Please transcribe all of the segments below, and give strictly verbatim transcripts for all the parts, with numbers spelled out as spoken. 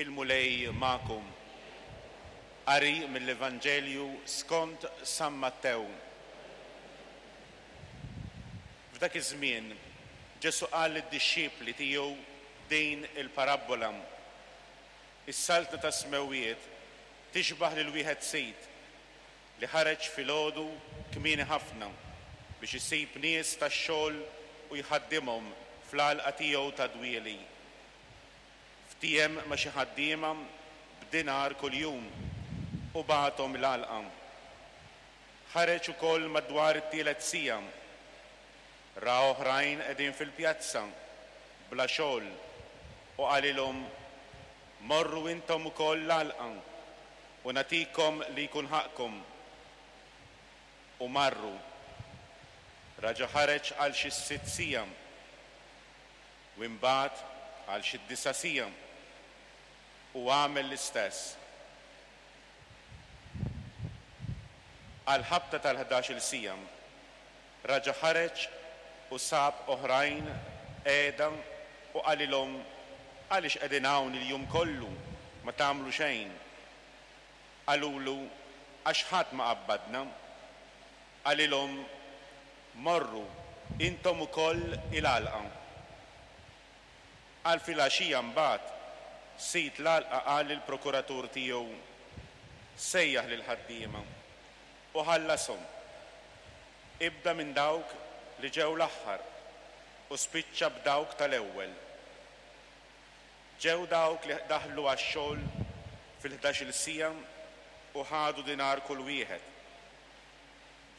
Il-Mulej magħkom. Qari mill-Evanġelju skont San Mattew. F'dak iż-żmien Ġesù qal lid-dixxipli tiegħu din il-parabbola. Is-saltna tas-smewwiet tixbah lil wieħed sid li ħareġ filgħodu kmieni ħafna biex isib nies tax-xogħol u jħaddimhom fl-għalqa tiegħu ta' dwieli. Ftiehem ma' xi ħaddiema b'dinar kuljum u bagħathom l-għalqa. Ħareġ ukoll madwar it-tielet siegħa. Ra oħrajn qegħdin fil-pjazza bla xogħol u qalilhom, Morru intom ukoll l-għalqa u nagħtikom li jkun ħaqqkom. U marru. Raġa' ħareġ għal xi sitt siegħa u imbagħad għal xi disa' siegħa u għamel l-istess. Għall-ħabta tal-ħdax-il siegħa raġa' ħareġ u sab oħrajn qiegħda u qalilhom, Għaliex qegħdin hawn il-jum kollu ma tagħmlu xejn? Qalulu, Għax ħadd ma qabbadna. Qalilhom, Morru intom ukoll il-għalqa. Għal filgħaxija mbagħad, sid l-għalqa qal lill-prokuratur tiegħu, Sejjaħ lill-ħaddiema u ħallashom. Ibda minn dawk li ġew l-aħħar u spiċċa b'dawk tal-ewwel. Ġew dawk li daħlu għax-xogħol fil-ħdax-il siegħa u ħadu dinar kull wieħed.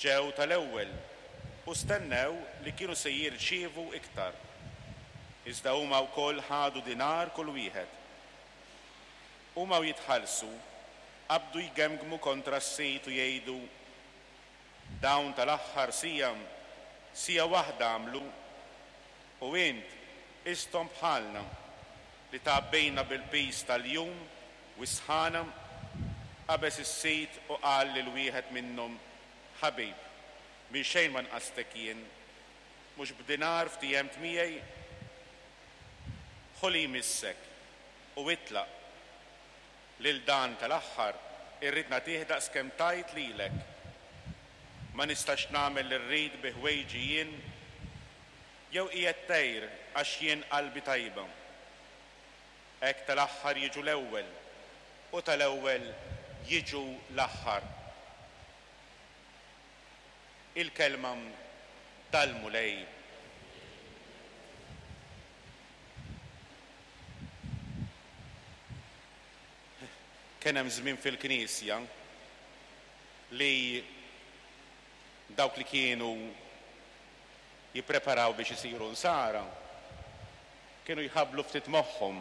Ġew tal-ewwel u stennew li kienu se jirċievu iktar. Iżda huma wkoll ħadu dinar kull wieħed. Huma u jitħallsu, qabdu jgemgmu kontra s-sid u jgħidu, Dawn tal-aħħar siegħa, siegħa waħda għamlu, u int qisthom bħalna, li tgħabbejna bil-piż tal-jum u s-sħana. Qabeż is-sid u qal lil wieħed minnhom, Ħabib, minn xejn ma nqastek jien. Mhux b'dinar ftiehemt miegħi? Ħu li jmissek u itlaq. Lil dan tal-aħħar irrid nagħtih daqskemm tajt lilek. Ma nistax nagħmel li rrid bi ħwejġi jien? Jew qiegħed tgħir għax jien qalbi tajba? Hekk tal-aħħar jiġu l-ewwel, u tal-ewwel jiġu l-aħħar. Il-kelma tal-Mulej. Kien hemm żmien fil-Knisja li dawk li kienu jippreparaw biex isiru nsara kienu jħabblu ftit moħħhom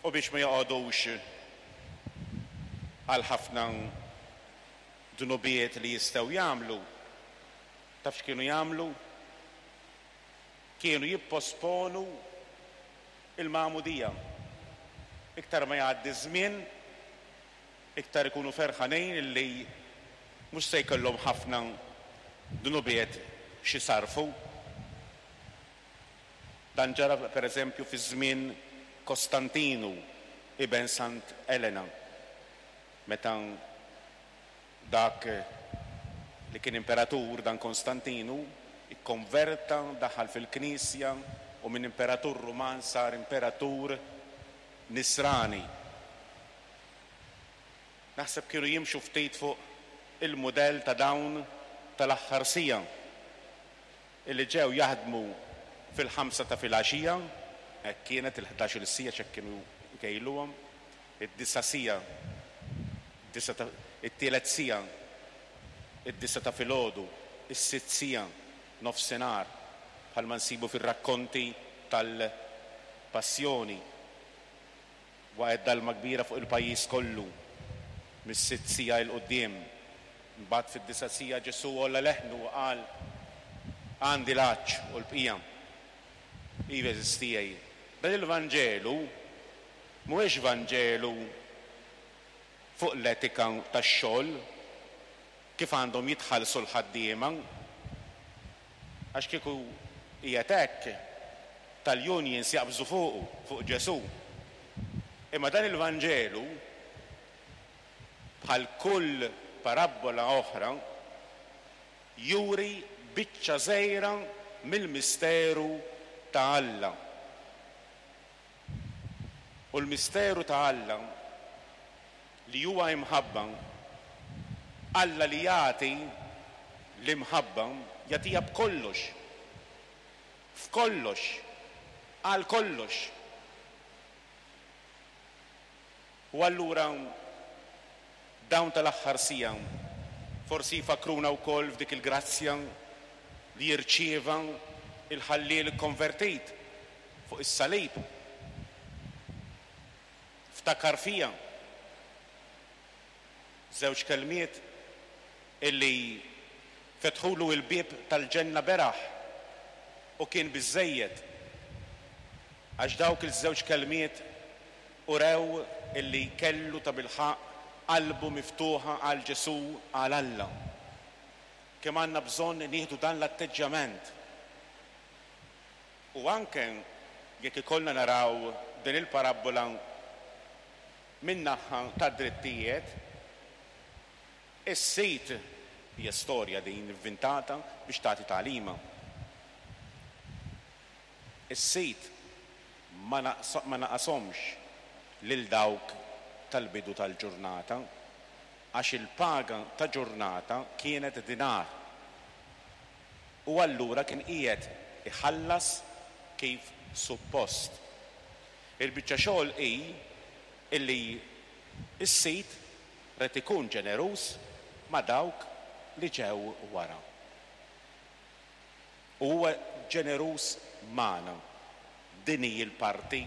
u biex ma joqogħdux għal ħafna dnubiet li jistgħu jagħmlu, taf x'kienu jagħmlu? Kienu jipposponu il-magħmudija. Iktar ma jgħaddi ż-żmien, iktar ikunu ferħanin illi mhux se jkollhom ħafna dnubiet x'isarrfu. Dan ġara pereżempju fi żmien Kostantinu, iben Sant Elena, meta dak li kien imperatur, dan Konstantinu, ikkonverta, daħal fil-Knisja u minn imperatur Ruman sar imperatur Nisrani. Naħseb kienu jimxu ftit fuq il-mudell ta' dawn tal-aħħar siegħa illi ġew jaħdmu fil-ħamsa ta' filgħaxija, hekk kienet il-ħdax-il siegħa x'hekk kienu jkejluhom, id-disa' siegħa, id-disa' ta', it-tielet siegħa, id-disa' ta' filgħodu, is-sitt siegħa, nofsinhar, bħalma nsibu fir-rakkonti tal-Passjoni. Waqgħet dalma kbira fuq il-pajjiż kollu mis-sitt siegħa 'l quddiem. Imbagħad fid-disa' siegħa Ġesù għolla leħnu u qal, Għandi l-għatx u l-bqija. Iva, għeżież tiegħi, dan il-Vanġelu mhuwiex Vanġelu fuq l-etika tax-xogħol, kif għandhom jitħallsu l-ħaddiema. Għax kieku qiegħed hekk, tal-unions jaqbżu fuqu, fuq Ġesù. Imma dan il-Vanġelu, bħal kull parabbola oħra, juri biċċa żgħira mill-misteru ta' Alla. U l-misteru ta' Alla li huwa imħabba, Alla li jagħti l-imħabba, jagħtiha b'kollox, f'kollox, għal kollox. U allura dawn tal-aħħar siegħa forsi jfakkruna wkoll f'dik il-grazzja li jirċieva il-ħalliel konvertit fuq is-salib. Ftakar fija. Żewġ kelmiet illi fetħulu il-bieb tal-ġenna beraħ u kien biżżejjed, għax dawk il-żewġ kelmiet urew illi kellu ta' bilħaqq qalbu miftuħa għal Ġesù, għal Alla. Kemm għandna bżonn nieħdu dan l-atteġġjament. U anke jekk ikollna naraw din il-parabbola min-naħa ta' drittijiet, is-sid, hija storja din inventata biex tagħti tagħlima. Is-sid ma naqashomx lil dawk tal-bidu tal-ġurnata, għax il-paga ta' ġurnata kienet dinar. U allura kien qiegħed iħallas kif suppost. Il-biċċa xogħol hi illi s-sid rid ikun ġeneruż ma' dawk li ġew wara. U huwa ġeneruż magħna. Din hi l-parti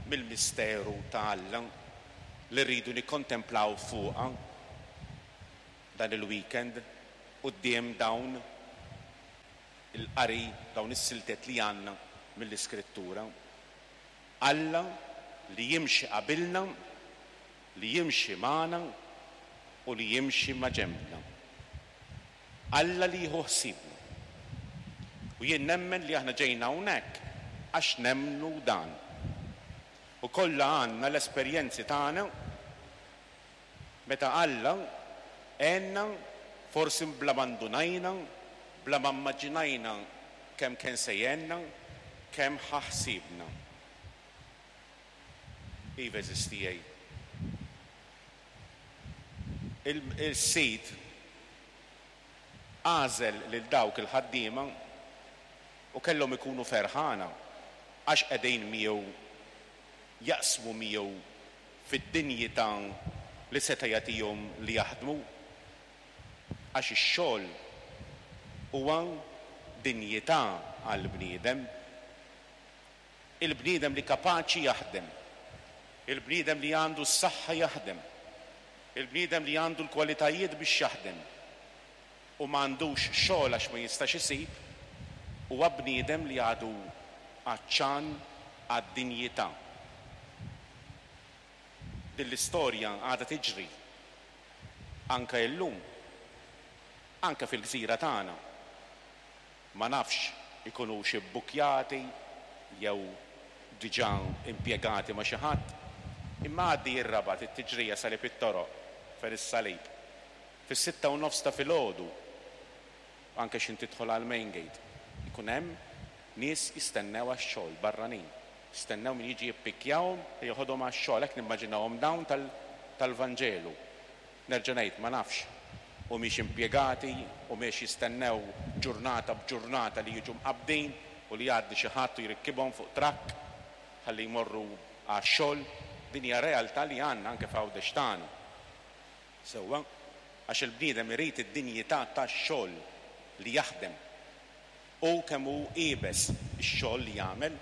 mill-misteru ta' Alla li rridu nikkontemplaw fuqha dan il-weekend quddiem dawn il-qari, dawn is-siltet li għandna mill-Iskrittura. Alla li jimxi qabilna, li jimxi magħna u li jimxi ma' ġenbna. Alla li jieħu ħsiebna. U jien nemmen li aħna ġejna hawnhekk għax nemmnu dan. U kollha għandna l-esperjenzi tagħna meta Alla għenna, forsi bla ma ndunajna, bla ma mmaġinajna kemm kien se jgħinna, kemm ħa ħsiebna. Iva eżistijaj. Il-sid għażel lil dawk il-ħaddiema u kellhom ikunu ferħana għax qegħdin miegħu, jaqsmu miegħu fid-dinjità li seta' jagħtihom li jaħdmu, għax ix-xogħol huwa dinjità għall-bniedem. Il-bniedem li kapaċi jaħdem, il-bniedem li għandu s-saħħa jaħdem, il-bniedem li għandu l-kwalitajiet biex jaħdem u ma għandux xogħol għax ma jistax isib, huwa bniedem li għadu għatxan għad-dinjità. Din l-istorja għadha tiġri anke illum, anke fil-gżira tagħna. Ma nafx ikunux ibbukjati jew diġà impjegati ma' xi ħadd, imma għaddi r-Rabat it-tiġrija Salib it-Toroq fejn is-salib. Fis-sitta u nofs ta' filgħodu, anke x'in tidħol għal main gate, ikun hemm nies jistennew għax-xogħol barranin. Jistennew min jiġi jippikkjahom u joħodhom għax-xogħol, hekk nimmaġinahom dawn tal-Vanġelu. Nerġa' ngħid, ma nafx humiex impjegati u mhix jistennew ġurnata b'ġurnata li jiġu mqabbdin u li jgħaddi xi ħadd u jrikkibhom fuq trakk ħalli jmorru għax-xogħol. Din hija realtà li għandna anke f'Għawdex tagħna. Sewwa, għax il-bniedem irid id-dinjità tax-xogħol li jaħdem u kemm hu iebes ix-xogħol li jagħmel.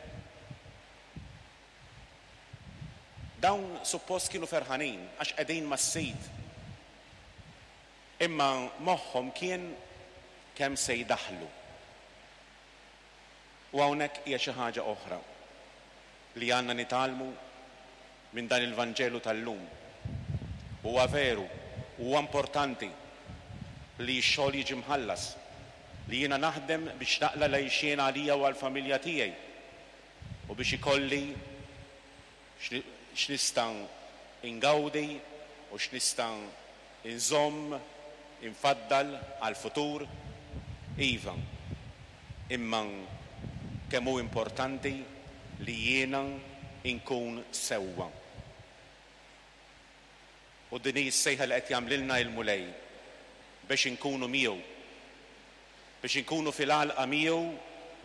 Dawn suppost kienu ferħanin għax qegħdin mas-sid. Imma moħħhom kien kemm se jdaħlu. U hawnhekk hija xi ħaġa oħra li għandna nitgħallmu minn dan il-Vanġelu tal-lum. Huwa veru, huwa importanti li x-xogħol jiġi mħallas, li jiena naħdem biex naqla' l-għixien għalija u għall-familja tiegħi. U biex ikolli x'nista' ingawdi u x'nista' inżomm, infaddal għall-futur, iva. Imma kemm hu importanti li jiena inkun sewwa. U din hi s-sejħa li qed jagħmlilna il-Mulej biex inkunu miegħu. Biex inkunu fil-għalqa miegħu,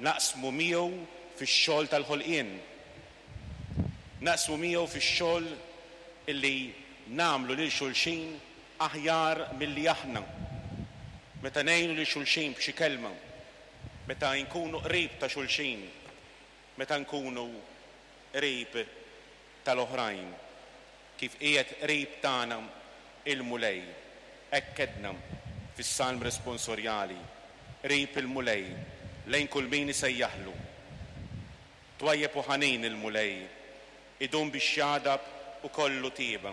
naqsmu miegħu fix-xogħol tal-ħolqien. Naqsmu miegħu fix-xogħol illi nagħmlu lil xulxin aħjar milli aħna. Meta ngħinu lil xulxin b'xi kelma, meta nkunu qrib ta' xulxin, meta nkunu qrib tal-oħrajn, kif qiegħed qrib tagħna il-Mulej. Hekk għedna fis-Salm responsorjali, qrib il-Mulej lejn kull min isejjaħlu. Twajjeb u ħanin il-Mulej, idum biex jagħdab u kollu tieba.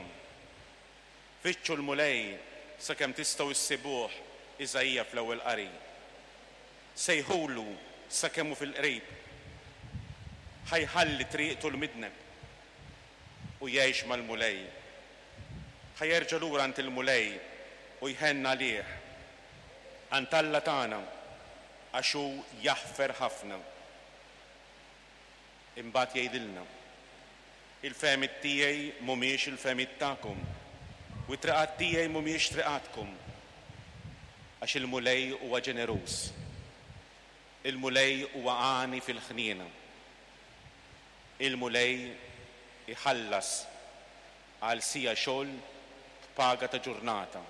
Fittxu l-Mulej sakemm tistgħu issibuh, Iżaija fl-ewwel qari. Sejħulu sakemm hu fil-qrib. Ħa jħalli triqtu l-midneb u jgħix mal-Mulej. Ħa jerġa' lura għand il-Mulej u jħenn għalih. Għand Alla tagħna għax hu jaħfer ħafna. Imbagħad jgħidilna: Il-fehmiet tiegħi mhumiex il-fehmiet tagħkom, u t-triqat tiegħi mhumiex triqatkom. Għax il-Mulej huwa ġeneruż. Il-Mulej huwa għani fil-ħniena. Il-Mulej iħallas għal siegħa xogħol b'paga ta' ġurnata,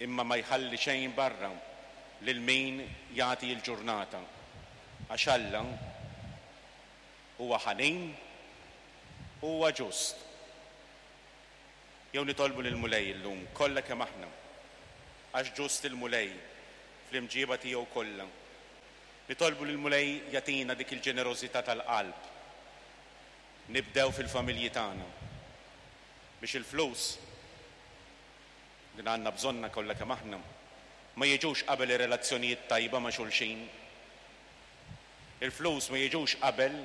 imma ma jħalli xejn barra lil min jagħti l-ġurnata. Għax Alla huwa ħanin, huwa ġust. Jew nitolbu lill-Mulej illum kollha kemm aħna, għax ġust il-Mulej fl-imġiba tiegħu kollha. Nitolbu lill-Mulej jagħtina dik il-ġenerożità tal-qalb. Nibdew fil-familji tagħna biex il-flus din għandna bżonna kollha kemm aħna ma jiġux qabel ir-relazzjonijiet tajba ma' xulxin. Il-flus ma jiġux qabel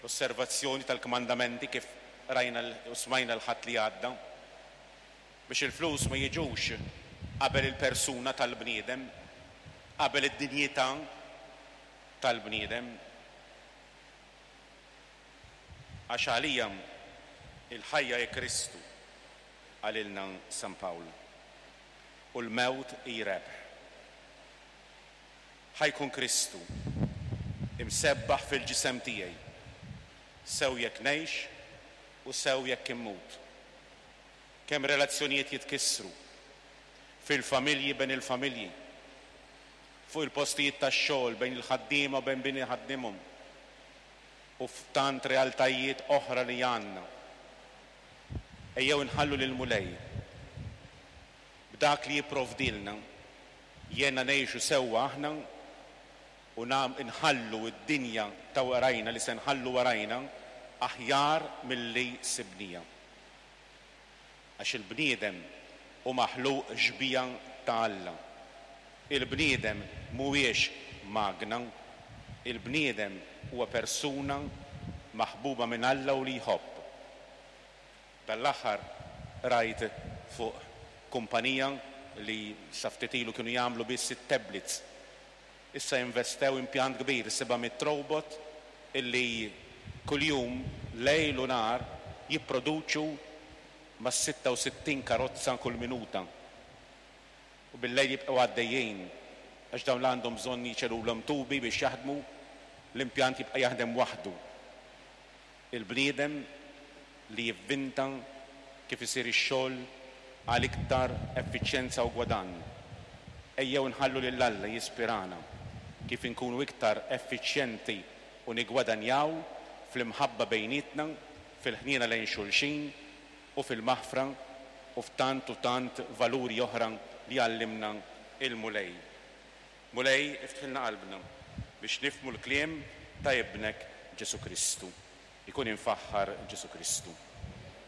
l-osservazzjoni tal-kmandamenti kif rajna u smajna l-Ħadd li għadda. Biex il-flus ma jiġux qabel il-persuna tal-bniedem, qabel id-dinjità tal-bniedem. Għax għalija il-ħajja hi Kristu, qalilna San Pawl, u l-mewt hi rebħ. Ħa jkun Kristu imsebbaħ fil-ġisem tiegħi, sew jekk ngħix u sew jekk immut. Kemm relazzjonijiet jitkissru fil-familji bejn il-familji, fuq il-postijiet tax-xogħol bejn il-ħaddiema u bejn min iħaddimhom, u f'tant realtajiet oħra li għandna. Ejjew nħallu lill-Mulej b'dak li jipprovdilna jena ngħixu sewwa aħna u nħallu d-dinja ta' warajna li se nħallu warajna aħjar milli sibnija. Għax il-bniedem hu maħluq xbieha ta' Alla. Il-bniedem mhuwiex magna, il-bniedem huwa persuna maħbuba minn Alla u li jħobb. Dal-aħħar rajt fuq kumpanija li sa ftit ilu kienu jagħmlu biss it-tablets. Issa investew impjant kbir, seba' mitt robot illi kuljum lejl u nhar jipproduċu ma' sitta u sittin karozza kull minuta. U bil-lejl jibqgħu għaddejjin għax dawn għandhom bżonn jiċelulhom tubi biex jaħdmu, l-impjant jibqa' jaħdem waħdu. Il-bniedem li jivvinta kif isir ix-xogħol għal iktar effiċjenza u gwadann. Ejjew nħallu lil Alla jispirana kif inkunu iktar effiċjenti u nigwadanjaw fl-imħabba bejnietna, fil-ħniena lejn xulxin u fil-maħfra u f'tant u tant valuri oħra li għallimna il-Mulej. Mulej, iftħilna qalbna biex nifhmu l-kliem ta' ibnek Ġesù Kristu. Ikun imfaħħar Ġesù Kristu.